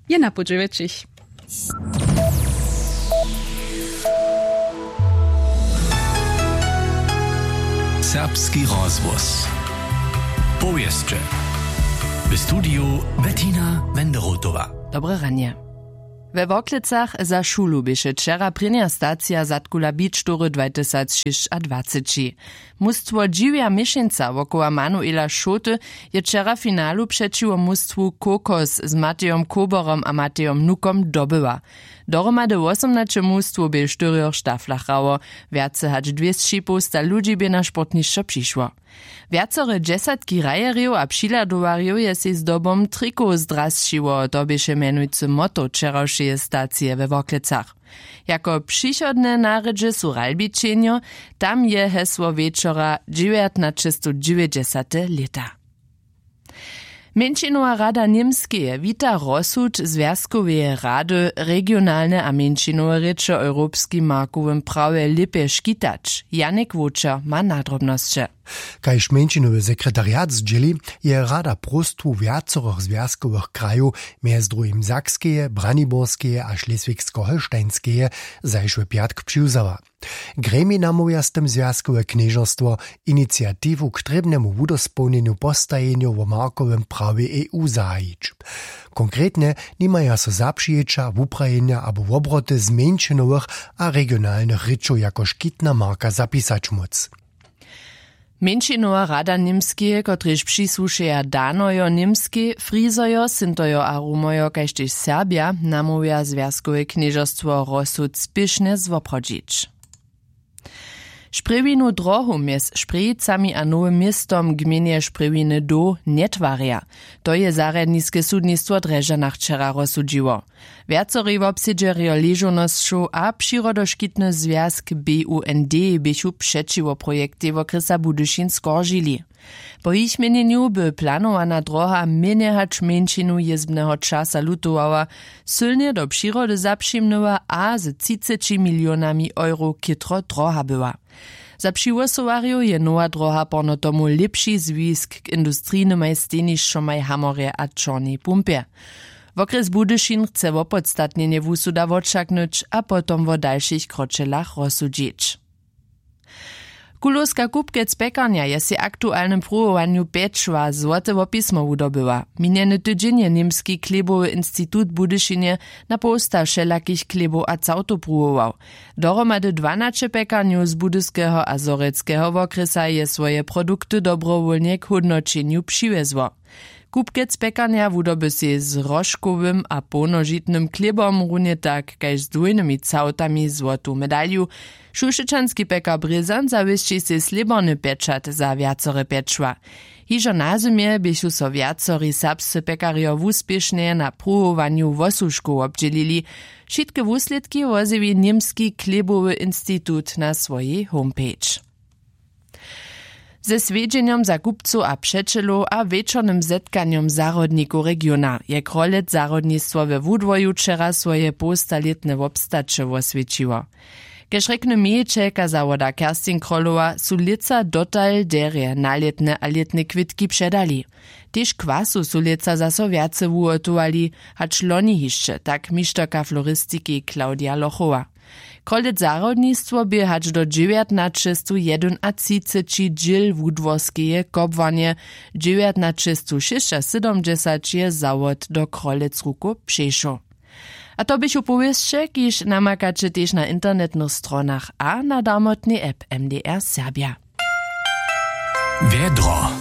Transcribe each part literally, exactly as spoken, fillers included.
Je na podźewjećich. Serbski rozhłos. Powěsće. W studiju Bettina Wenderotowa. Dobre ranje. We Worklecach za šulu běše wčera prěnja stacija Zadkula Beach Toury dwatysacšěsćadwaceći. Mustwo Dźiwja Měšeńca wokoła Manuela Šoty je wčera w finalu přećiwo mustwu Kokos z Matejom Koborom a Matejom Nukom dobyła. Dohromady wosomnaće mustwow bě w štyrjoch štaflach hrało. Wjace hač dwěsći połsta ludźi bě na sportnišćo přišło. Wjacore dźesatki hrajerjow a přihladowarjow je sej zdobom trikow zdrasćiło, to běše mjenujcy motto wčerawšeje stacije we Worklecach. Jako přichodne na rědźe su Ralbičenjo, tam je hesło wječora dźewjatnaćestowdźewjećdźesate lěta. Mjeńšinowa rada Němskeje wita rozsud Zwjazkoweje rady, regionalne a mjeńšinowe rěče w europskim markowym prawje lěpje škitać. Janik Wočer ma nadrobnosće. Kaž mjeńšinowy sekretariat zdźěli, je rada próstwu wjacorych zwjazkowych krajow, mjez druhim Sakskeje, Braniborskeje a Šleswigsko-Holštajnskeje, zašły pjatk přiwzała. Gremij namołwja z tym zwjazkowe knježerstwo, iniciatiwu k trěbnemu wudospołnjenju postajenjow wo markowym prawje E U zahajić. Konkretnje nimaja so zapřijeća, wuprajenja abo wobroty z mjeńšinowych a regionalnych rěčow jako škitna marka zapisać móc. Mjeńšinowa rada Němskeje, kotrež přisłušeja Danojo Němskej, Frizojo, Sintojo a Rumojo kaž tež Serbja, namołwja zwjazkowe knježerstwo rozsud spěšnje zwoprawdźić. Šprjewinu drohu mjez Šprjejicami a Nowym Městom gmejnje Šprjewiny doł njetwarja. To je zarjadniske sudnistwo w Drježdźanach wčera rozsudźiło. Wjacorej wobsedźerjo ležownosćow a přirodoškitny zwjazk B U N D běchu přećiwo projektej wokrjesa Budyšin skoržili. Po jich měnjenju by planowana droha mjenje hač mjeńšinu jězbneho časa lutowała, sylnje do přirody zapřimnyła a z třiceći milionami euro chětro droha była. Za přihłosowarjow je nowa droha porno tomu lěpši zwisk k industrijnymaj stejnišćomaj w Hamorje a Čornej Pumpje. Wokrjes Budyšin chce wopodstatnjenje wusuda wočaknyć a potom wo dalšich kročelach rozsudźić. Kulowska kupkec pjekarnja je sej w aktualnym pruwowanju pječła złote wopismo wudobyła. Minjeny tydźeń je němski chlěbowy institut w Budyšinje na połsta wšelakich chlěbow a całtow pruwował. Dohromady dwanaće pjekarnjow z budyskeho a zhorjelskeho wokrjesa je swoje produkty dobrowólnje k hódnoćenju přiwjezło. Kupkec pjekarnja wudoby sej z hroškowym a połnožitnym chlěbom runje tak kaž z dwójnymi całtami złotu medalju. Šušečanski pjekar brězan zawěsći sej slěborny pječat za wjacore pječła. Hižo na zymje běchu so wjacori serbscy pjekarjo wuspěšnje na pruwowanju wosuškow wobdźělili. Wšitke wuslědki wozjewi němski chlěbowy institut na swojej homepage. Ze swjedźenjom za kupcow a přećelow a wječornym zetkanjom zahrodnikow regiona je krolec zahrodnistwo we wudwoju wčera swoje połstalětne wobstaće woswjećiło. Kaž rjekny mějićelka zawoda Kerstin Krolowa, su lětsa dotal derje nalětne a lětne kwětki předali. Tež kwasu su lětsa zaso wjace wuhotowali hač loni hišće, tak mišterka floristiki Claudia Lochowa. Krolec zahrodnistwo bě hač do dźewjatnaćestowjedynatřiceći dźěl wudworskeje kobłarnje. Dźewjatnaćestowšěsćasydomdźesać je zawod do krolec rukow přešoł. A to běchu powěsće, kiž namakaće tež na internetnych stronach a na darmotnej app M D R Serbja. Wjedro.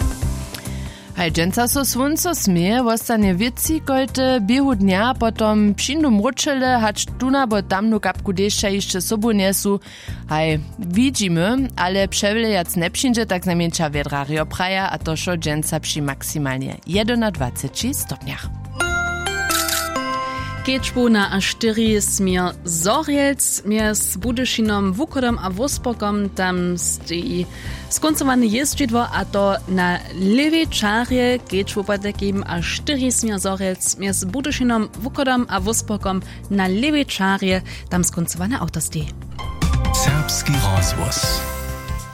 Haj dźensa so słónco směje, wostanje wětřikojte, běhu dnja potom přińdu mróčele hač tunu abo tamnu kapku dešća hišće sobu njesu. Haj, widźimy, ale přewlějac njepřińdźe, tak znajmjeńša wjedrarjo praja, a to wšo dźensa při maksimalnje jedynadwaceći stopnjach. Kedźbow na a štyri směr zhorjelc mjez Budyšinom, Wuchodom a Wórsborgom, tam steji skóncowane jězdźidło, a to na lěwej čarje. Kedźbow potajkim a štyri směr zhorjelc mjez Budyšinom, Wuchodom a Wórsborgom, na lěwej čarje, tam skóncowane awto steji. Serbski rozhłos.